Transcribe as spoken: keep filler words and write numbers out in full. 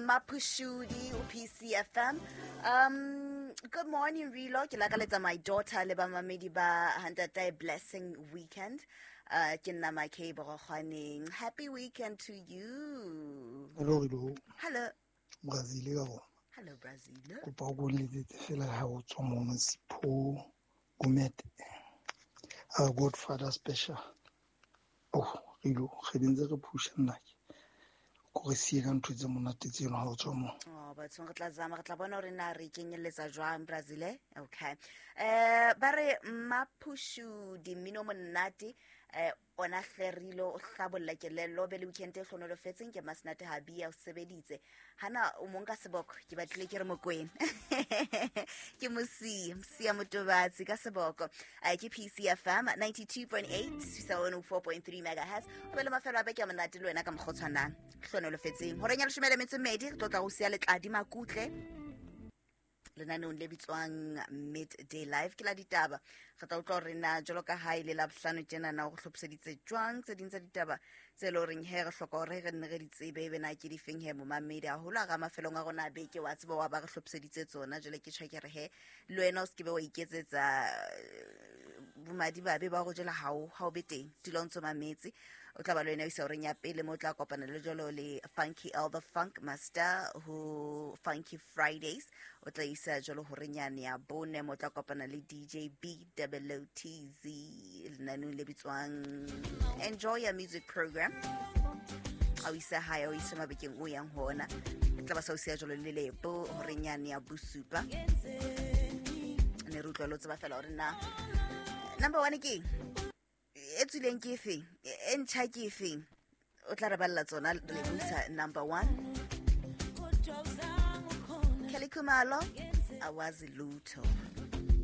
Maphushudi o P C F M. Um good morning, Rilo. Ke lakaletsa my daughter le ba mamedi ba Hantatae blessing weekend. Uh ke nna Makhe Borogwaneng. Happy weekend to you. Hello, Rilo. Hello. Brazil ka rona. Hello, Brazil. Kopa o ko letsetse fela ha o tswa mono Sipho Gumete. Our Godfather special. Oh, Rilo, re ntse re phusha nnake. Ko re siye ka ntho tse monate tseno ha o tswa mo. Oh, bathong, re tla zama, re tla bona hore na re kenyelletsa jwang, Brazil. Okay. Eh ba re Maphushudi, mmino monate eh ona hlerilo o hlabolla kelello be le weekend e hlonolofetseng. Ke Masnate Habia o sebeditse hana o mong ka seboko ke batlile ke re Mokwena ke mosia mosia motobatsi ka seboko. Eh, ke P C F M ninety-two point eight, one oh four point three megahertz. O be le mafelo a beke a monate le wena ka mokgwa o tshwanang hlonolofetseng. Horeng ya leshome le metso e mmedi re tlo tla go sia Letladi Makutle lenaneong le bitswang Midday Live, ke la ditaba. Re tla utlwa hore na jwalo ka ha e le Labohlano tjenana go hlophiseditse jwang tse ding tsa ditaba tse le horeng he re hloka hore re nne re di tsebe, ebe na ke difeng he momamedi haholo a ga mafelong a rona a beke wa tseba wa ba re hlophiseditse tsona. Jwale ke tjho ke re he le wena o se ke be wa iketsetsa eh, bomadimabe ba go jela ha o ha o be teng dula o ntso mametse. O tla ba le wena o isa horeng ya pele mo o tla kopana le jalo le Funky L the Funk Master ho Funky Fridays. O tla isa jalo horeng yane ya bone mo o tla kopana le D J B O T Z lenaneong le bitswang Enjoy Your Music Program. A o isa hae, o isa mabekeng o yang ho ona. E tla ba sa o siya jalo le Lebo horeng yane ya bosupa. Ne re utlwa le o tseba fela hore na number one ke eng, e tswileng ke efeng, e ntjha ke efeng. O tla re balla tsona le buisa number one. Kelly Khumalo, Awazi Lutho.